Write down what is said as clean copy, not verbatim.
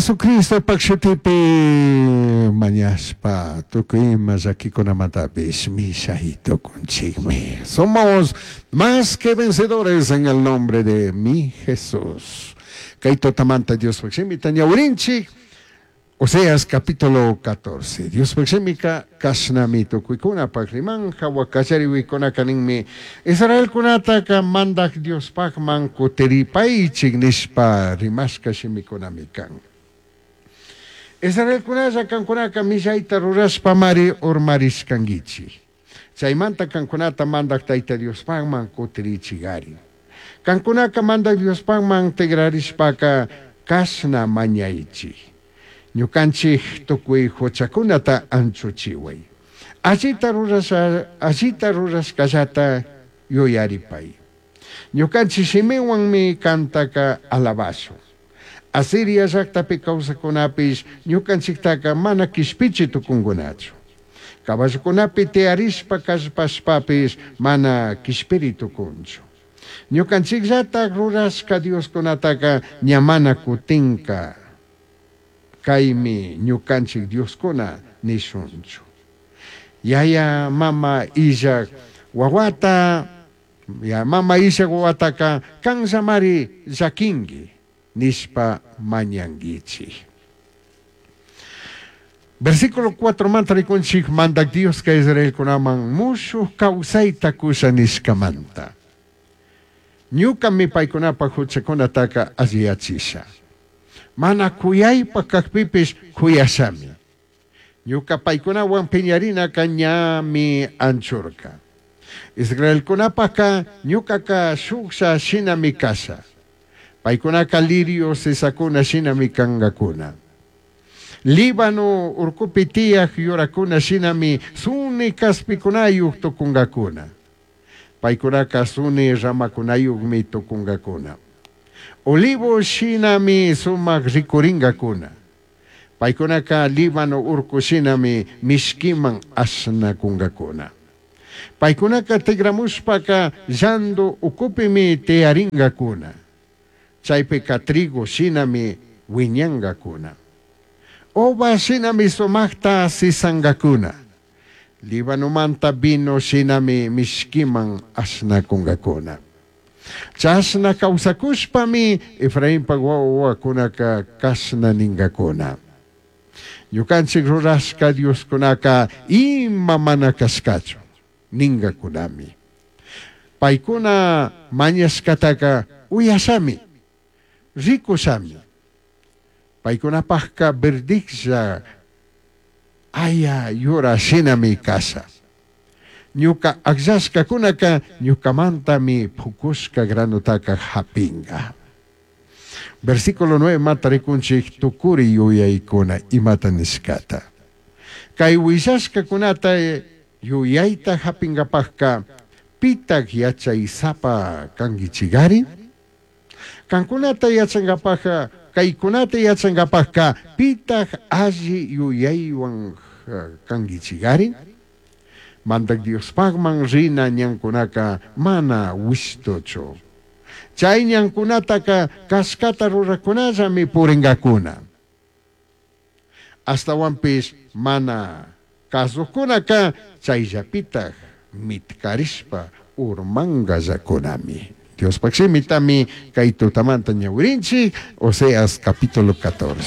Jesucristopak shutipi mañashpa tukuy ima llakikunamatapish mishai tukunchikmi. Somos más que vencedores en el nombre de mi Jesús. Kay tutamanta Diospaj shimita ñawirinchik. Oseas capítulo 14. Diospaj shimika kashnami tukuikunapaj riman jahua kallarihuikunaka ninmi Israelkunataka mandaj Diospajman kutiripaichik nishpa rimashka shimikunami kan. Israelkunalla kankunaka millaita rurashpamari urmarishkanguichik. Chaymanta kankunata mandaj Tayta Diospajman kutirichigari. Kankunaka mandaj Diospajman tigrarishpaka kashna mañaichik. Ñukanchik tukuy huchakunata anchuchiway. Allita rurasha allita rurashkallata yuyaripay. Ñukanchik shimiwanmi kantaka alabashun. Asiria llaktapi kawsakunapish ñukanchiktaka mana kishpichi tukunkunachu. Caballokunapi tiyarishpa kallpashpapish mana kishpiri tukunchu. Ñukanchikllatak rurashka Dioskunataka ña mana kutinka kaymi ñukanchik Dioskuna nishunchu. Yaya mama illak wawata ya mama illak wawataka kanllamari llakinki nishpa mañanguichik. Versículo 4 manta rikunchik mandak Dioska Israelkunaman mushuj kawsayta kusha nishkamanta. Ñukami paykunapaj huchakunataka alliyachisha. Mana kuyaypaj kakpipish kuyashami. Ñuka paykunawan piñarinaka ñami anchurka. Israelkunapajka ñukaka shuklla shinami kasha. Paykunaka lirio sisakuna shinami kankakuna. Líbano urkupi tiyaj yurakuna shinami suni kaspikunayuq tukunkakuna. Paykunaka suni ramakunayuqmi tukunkakuna. Olivo shinami sumak rikuringakuna. Paykunaka Líbano urku shinami mishkiman ashnakunkakuna. Paykunaka tigramushpaka llandu ukupimi tiyaringakuna. Chaypika trigo shinami wiñankakuna. Uva shinami sumakta sisankakuna. Libanomanta vino shinami mishkiman ashnakunkakuna. Chashna kawsakushpami Efrainpak wawakunaka kashna ninkakuna. Ñukanchik rurashka Dioskunaka ima mana kashkachu ninkakunami. Paykuna mañashkataka uyashami, rikushami. Paykunapajka verdiklla aya yura shinami kasha. Ñuka akllashkakunaka ñukamantami pukushka granutaka hapinga. Versículo 9 manta rikunchik tukuri yuyaykuna imata nishkata. Kay willashkakunata yuyayta hapinkapajka pitak yachaysapa kankichigari? Kankunata yachankapajka kaykunata yachankapajka pitak alli yuyaywan kankichigari? Mandak Diospajman rina ñankunaka mana wishtuchu. Chay ñankunataka kashkata rurakunallami purinkakuna. Ashtawanpish mana kasukunaka chayllapitak mitkarishpa urmankallakunami. Diospaj shimitami kay tutamanta ñawirinchik Oseas capítulo 14.